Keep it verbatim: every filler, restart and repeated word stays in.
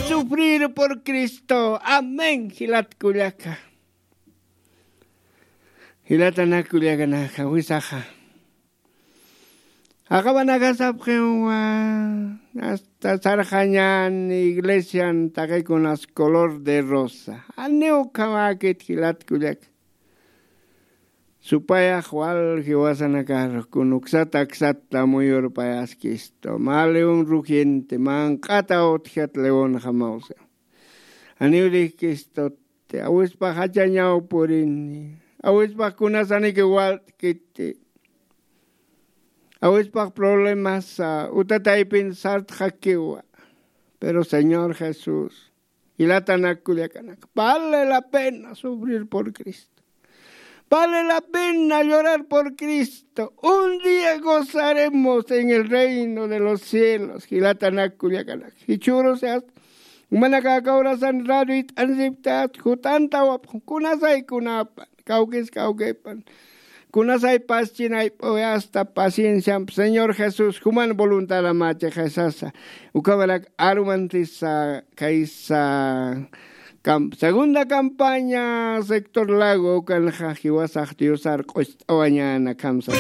Sufrir por Cristo. Amén. Jilat kullaka, jilatanak kullakanaka wisaxa, jaqapanakasapxiwa hasta sarxañan iglesian taqikunas color de rosa. Janiw ukhamäkit jilat kullaka. Supayax wal jiwasanakar kun uksata aksata muyurpayaskistu mä león rugiente manq'ata utjat leónxamawsa. Janiw dijkistuti awispax jachañaw purini, awispax kunasaniki walt'kiti, awispax problemasa utataypin sartxakiwa. Pero señor jesús, jilatanak kullakanak, vale la pena sufrir por cristo. Vale la pena llorar por cristo. Un día gozaremos en el reino de los cielos. Jilatanak kullakanak, jichhürusa jumanakax aka horasan radio it'ansipkta, jut'antawapxam kunasay kunapan, kawkis kawkipan, kunasay paschinayp'uy hasta pacienciamp señor jesús juman voluntadamächixay sasa. Ukhamarak arumantisa kaysa, segunda campaña sector lago ukanxa jiwasax diosar q'ust'awañäna kamsa.